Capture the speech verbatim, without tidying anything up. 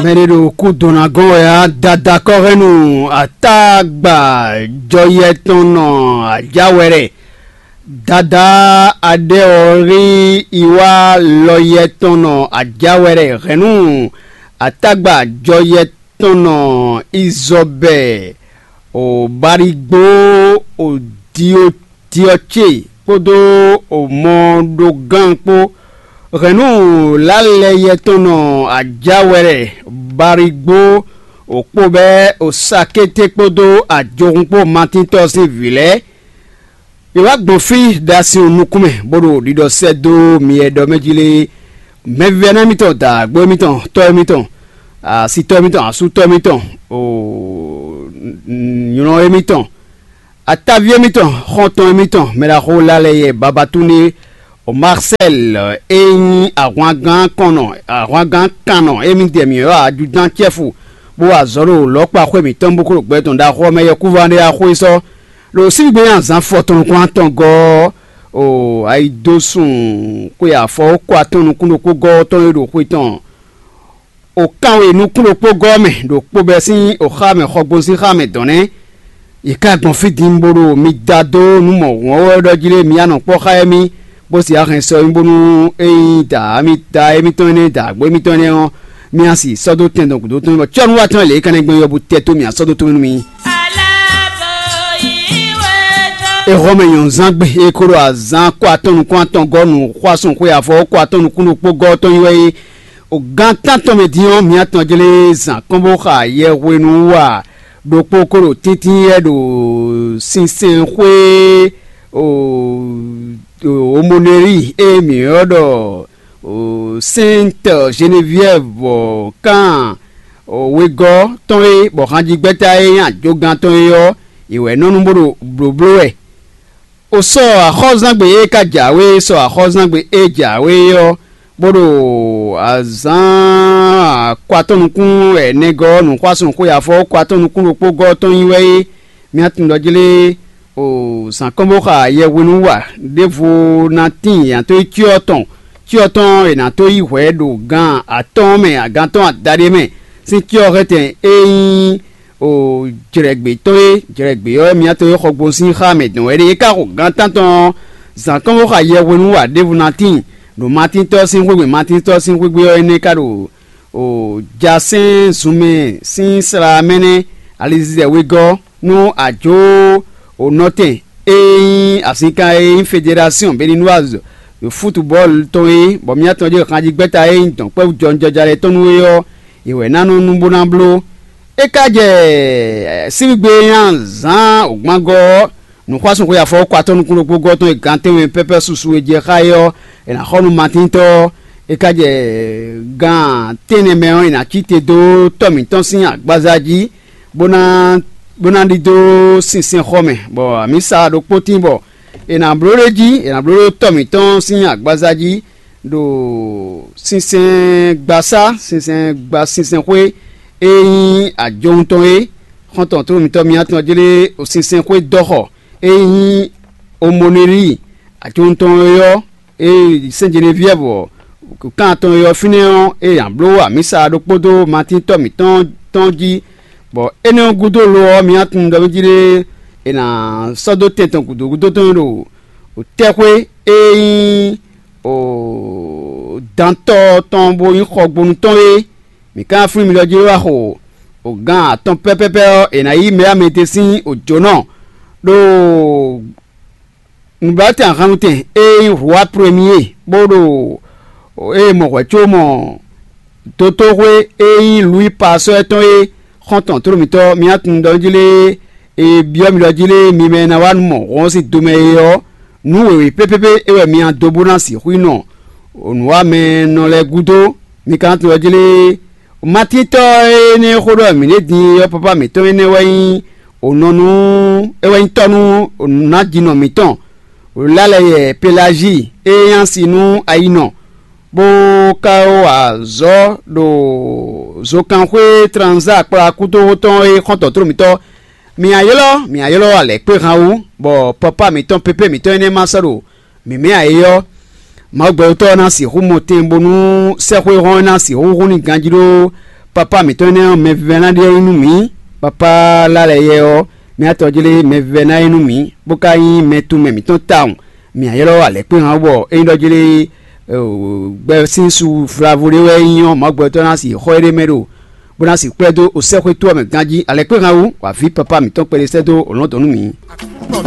Mɛ ɖé ɖo kú dɔn ná gɔ́n wɛ á. Dada kɔ́hɛ́nnu atágba jɔyɛ tɔn nɔ ajá wɛ ɖɛ. Dada aɖɛ ɔ́ rí iwá lɔyɛ tɔn nɔ ajá wɛ ɖɛ hɛ̌nnu atágba jɔyɛ tɔn nɔ izɔbɛ o barigbó o dioti ɔ́ ce kpódó o mɔɖógán kpó. Hɛ̌nnu lálɛ yɛtɔn nɔ ajǎwɛ́lɛ barigbó o kpó bɛ́ o sakété kpódó ajohun kpó matíntɔ́ sín vǐ lɛ́ɛ. È wá gbɔn fí ɖo asin nukún mɛ bó ɖo ɖiɖɔ sɛ́ dó mi e ɖɔ mɛ jí lé. Mɛvívɛ́ná émítɔn, dǎgbó émítɔn, tɔ́ émítɔn, asitɔ́ émítɔn, asútɔ́ émítɔn, o nylɔ́ émítɔn, ataví émítɔn, xɔ́ntɔn émítɔn, mɛɖaxó lálɛ yɛ babatúndé, o Marcel e nyí ahwangán kɔnnɔ, ahwangán kannɔ émí dɛ mǐ ylɔ́ ajudán cɛ́fu, bó wa azɔ̌ ɖo lɔ̌kpa xwé mǐtɔn bó kó ɖo gbɛ tɔn ɖaxó ɔ́ mɛ yɛkúván ɖé axó é sɔ́. Ɖo síbígbe nyi azǎn fɔtɔn nukún atɔn gɔ́ ɔ́, o ayidósun xwe afɔ kó atɔn nukún ɖokpó gɔ́ ɔ́ tɔn e ɖo xwe tɔn o kanwe nukún ɖokpó gɔ́ mɛ ɖo kpó bɛ́ sín o xá mɛ xɔgbónu sín xá mɛ dɔn nɛ́. Yě ká gbɔn fí din bó ɖo mi da dó nú mɔ̌hun ɔ́ wɛ ɖɔ jí lé mi ya nɔ kpɔ́ xá émí, bó sì axɛn sɔ mì bónú é nyí dǎ émítɔn énɛ́, dǎgbó émítɔn énɛ́ ɔ́, mì a sì sɔ́ dó tɛn dɔn gǔdo tɔn bɔ cɔ́nú wa tɔn lě é ka ná gbɛn yɔbu tɛ́ tó mì a sɔ́ dó tó nú mi. Exɔ́mɛ nyɔ̌nzán gbe e ko ɖo azǎn kó atɔn nukún atɔn gɔ́ nǔxwásún xwe afɔ kó atɔn nukún ɖokpó gɔ́ tɔn nyi wɛ é. O gán tántɔn mɛ din ɔ́, mǐ atɔn jlé zǎn kɔn bó xa yɛhwenu wa ɖokpó kó ɖo tíntín yɛ ɖo sinsɛnxwé Omoneli e mǐ ylɔ́ ɖɔ Sainte Geneviève kan wegɔ́ tɔn é, bɔ hanjigbɛ́ta e nyí ajogán tɔn é ɔ́, è wɛ nɔ nú bó ɖo blǒbló wɛ. O sɔ axɔ́zangbe e ka jǎwe, sɔ axɔ́zangbe e jǎwe ɔ́, bó ɖo azǎn akɔatɔ́ nukún ɛnɛgɔ́ nǔxwásún xwe afɔ kɔatɔ́ nukún ɖokpó gɔ́ tɔn nyi wɛ é. Mía tunwun ɖɔ jlé o zǎn kɔn bó xa yɛhwenu wa ɖěvo ná tíin yǎ tó yi cyɔ tɔn, cyɔ tɔn è nǎ tó yi hwɛ̌ ɖo gan atɔ́ɔ́n mɛ, agantɔ́ adaɖé mɛ sín cyɔ hɛntɛn e nyí o jlɛ̌gbé tɔn é. Jlɛ̌gbé ɔ́, mía tɔn e xɔ gbɔn sín xá mɛ dɔn wɛ ɖe. É ka xo gan tántɔn ɔ́, zǎn kɔn bó xa yɛhwenu wa ɖěvo ná tíin ɖo Matíntɔ́ sín xwégbé. Matíntɔ́ sín xwégbé ɔ́ énɛ́ ka ɖo o jasɛ́n zunmɛ sín sla mɛ nɛ́ alizizɛ wegɔ́ nú ajǒ o nɔtɛn e nyí azinkan e nyí federasɔn Beninoise ɖo futubɔ́ɔlu tɔn é, bɔ mía tɔn jɛ xanjigbɛ́ta e nyí dɔ̌nkpɛ́vú jɔnjɔja lɛ́ɛ tɔn nú é ɔ́, è wɛ ná nɔ nú bó ná bló. É ka jɛ síwígbe e nyí azǎn wǒgbángɔ́ ɔ́, nǔxwásúnxwé afɔwɔ́kɔ atɔ́ nukún ɖokpó gɔ́ tɔn e gantɛ́nwe pɛ́pɛ́ susu e jɛ xá é ɔ́, è nǎ xɔ nú Matíntɔ́ ɔ́. É ka jɛ gan tɛ́nnɛ mɛ ɔ́, è nǎ cí te dó tɔ́ mǐtɔn sín agbaza jí, bó ná bó ná ɖidó sinsɛnxɔ mɛ, bɔ amǐsa ɖokpó tín bɔ è nǎ bló ɖ'é jí, è nǎ bló ɖó tɔ́ mǐtɔn sín agbaza jí, ɖo sinsɛngbasá, sinsɛngba sinsɛnxwé e nyí ajɔwun tɔn é. Xɔ́ntɔn tlóló mǐtɔn mǐtɔn jlé sinsɛnxwé dɔ́xɔ e nyí omonelíi ajɔwun tɔn é ɔ́, e sɛ́n Jeneviɛ́vu ɔ́, kan atɔn e ɔ́ fínɛ́ ɔ́, e nya bló amǐsa ɖokpó dó Matín tɔ́ mǐtɔn tɔn jí, bɔ énɛ́ ɔ́ gúdo lo ɔ́, mǐ tunwun ɖɔ mí jí ɖé è nǎ sɔ́ dó tɛn tɔn gǔdo gúdo tɔn ɖo tɛ́xwé e nyí dantɔ́ tɔn bó nyí xɔgbónu tɔn é. Mǐ ka flín mi ɖɔ jí wá xo o gan atɔn pɛ́pɛ́pɛ́ ɔ́, è nǎ yí mɛ amɛ te sín òjǒnɔ ɖo nǔblatɛn ahannutɛn e nyí Rwa Premier, bó ɖo e mɔ hwɛ̌ có mɔ dotóxwé e nyí Lwǐi Pasɔ́ tɔn é. Xɔ́ntɔn tlóló mǐtɔn mǐ tunwun ɖɔ jí lé e byɔ́ mi ɖɔ jí lé mi mɛ e ná wá nú mɔ hɔn sín do mɛ é ɔ́, nǔ wěwé pépépé é wɛ mi ná dó bó ná sixú yi nɔ nǔwamɛnɔ lɛ́ɛ gúdo. Mi ka ná tunwun ɖɔ jí lé Matíntɔ́ énɛ́ e xó ɖɔ mǐ ɖe din é ɔ́, pápá mǐtɔn énɛ́ wɛ nyí ònɔ nú é wɛ nyí tɔ́ nú nǔnájínɔ mǐtɔn, Lálɛyɛ Pelají e nyí asi nú ayinɔ, bó ka wá azɔ̌ ɖo zokanxwé Tranzá kplá kútóxó tɔn e xɔ́ntɔn tlóló mǐtɔn. Mǐ a ylɔ́, mǐ a ylɔ́ alɛ̌kpéhan wú, bɔ pɔpá mǐtɔn pépé mǐtɔn énɛ́ ma sɔ́ ɖo mǐmɛ́ ǎ é ɔ́, Mawu gbɛtɔ́ ɔ́ ná sixú mɔ tɛn bónú sɛ́xwéhɔn ɔ́ ná sixú hún n'i ganjí ɖó Papá mǐtɔn énɛ́ ɔ́, mɛvívɛ́ná ɖíe nyí nú mǐ. Papá Lalɛyɛ ɔ́, mɛ atɔjlé mɛvívɛ́ná é nú mǐ, bó ka nyí mɛ tunmɛ mǐtɔn tawun. Mǐ ylɔ́ alɛ̌kpéhan ɔ́ bɔ é nyí ɖɔ jlé gbɛ sín su vlavo ɖé wɛ é nyí ɔ́, Mawu gbɛtɔ́ ná sixú xɔ éɖée mɛ ɖo, bó ná sixú kplɛ́ dó osɛ́xwé tó ɔ́ mɛ ganjí. Alɛ̌kpéhan wú, wǎ ví papá mǐtɔn kpɛɖé sɛ́ dó lɔ̌ndɔ̌n nú mǐ.